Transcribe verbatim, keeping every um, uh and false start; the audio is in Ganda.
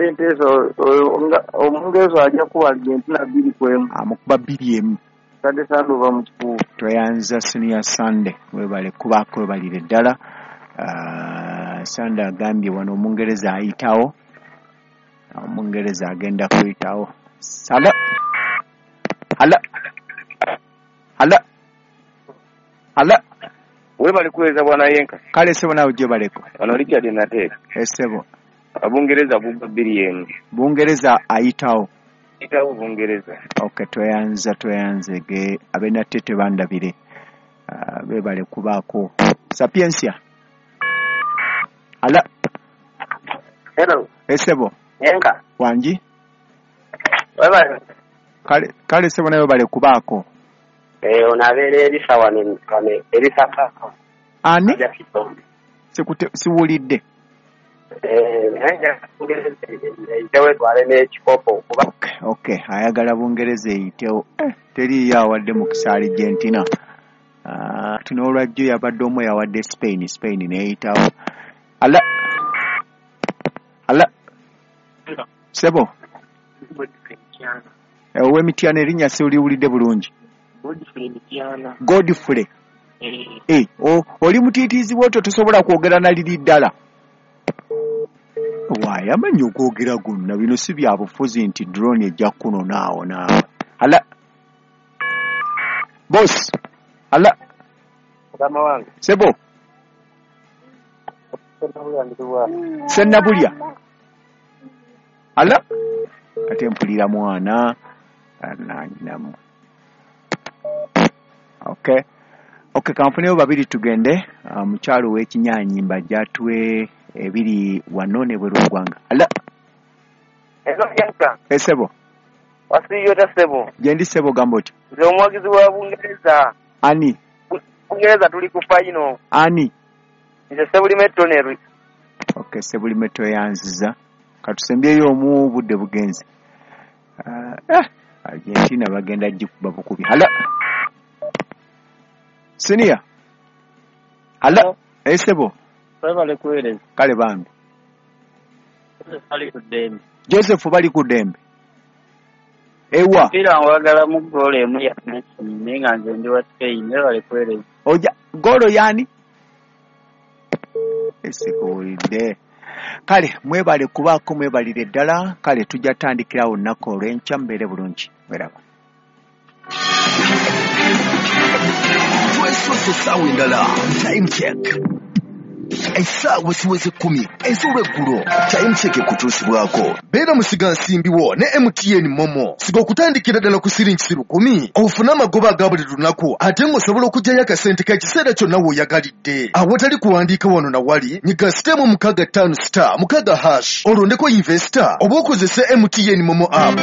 Mbadde nteesa Omungereza ajja kuba Argentina bbiri ku emu. Amukuba bbiri emu. Sande Sande ova mu Kikuubo. Tweyanza Senior Sunday, webale kubaako, webalire ddala. uh, Sunday agambye wano Omungereza ayitawo, Omungereza agenda kuyitawo. Sala hala hala hala. Webale kuweza bwana Yenka. Kale sebo, nawe gyebaleko. Wano Richard Nateeka. Esebo. Bungereza buba bbiri emu. Bungereza ayitawo. Ayitawo Bungereza. Okay, tweyanza, tweyanzege abenatete bandabire. uh, bebale kubaako. Sapiensia ala. Hello. Esebo. Yenka. Wangi. Webale. Kale kale sebo, nawe bale kubaako. Eh, onabeera erisa wano wano erisa paka. Ani? Sikute siwulidde. Eh, naye Bungereza eyitewo etwale n'ekikopo kuba. Okay, okay, ayagala Bungereza eyitewo. Eh, teriiyo awadde mukisa Argentina. Uh, n'olwajjo yabadde omu yawadde Spain, Spain n'eyitawo. Ala ala sebo. Ow'Emityana, erinnya siwuliwulidde bulungi. Godfrey Mityana. Godfrey. Eh. Eh, oli mutiitiizi bw'otyo tosobola kwogera na liri ddala. Waayi amanyi okwogera gonna, bino si bya bufuzi nti drone ejja kunona awo naawe. Ala boss. Ala. Mukama wange. Sebo. Sennabulya. Ala ate mpulira mwana nanyinamu. Okay. Okay, kanfuneyo babiri tugende. Uh, mukyalo w'Ekinyanyi mbajja atuwe ebiri wano ne bweru w'eggwanga. Ala. Hello Yenka. Esebo. Wasiyo ta sebo. Gyendi sebo, gamba otyo. Nze omuwagizi wa Bungereza. Ani? Bungereza tuli ku final. Ani? Nze Sebulime Toneri. Okay, Sebulime toyanziza. Katusembyeyo omu, budde bugenze. Uh, eh, Argentina bagenda gikuba bukubi. Hala. Senior. Hala. Esebo. Webale kuweereza. Kale bambi. Bali ku ddembe. Joseph bali ku ddembe. Ewa. Mpira nwagala mu ggoolo emu ya Messi naye nga nze ndi wa Spain. Webale kuweereza. Oja ggoolo yani? Esikuwulidde. Kale mwebale kubaako, mwebalire ddala. Kale tujja tandikirawo olunaku olw'enkya, mubeere bulungi. Mweraba. Twesose essaawa endala. Time Check, essaawa ziweze kkumi ez'olweggulo. Time Check ekutuusibwako beera musigansimbiwo ne M T N MoMo. Siga okutandikira ddala ku siringi lukumi ofune amagoba aga buli lunaku, ate ng'osobola okuggyayo akasente k'ekiseera kyonna w'oyagalidde awatali kuwandiika wano na wali. Nyiga star emu mukaaga ttaano star mukaaga hash, olondeko investor oba okozese M T N MoMo app.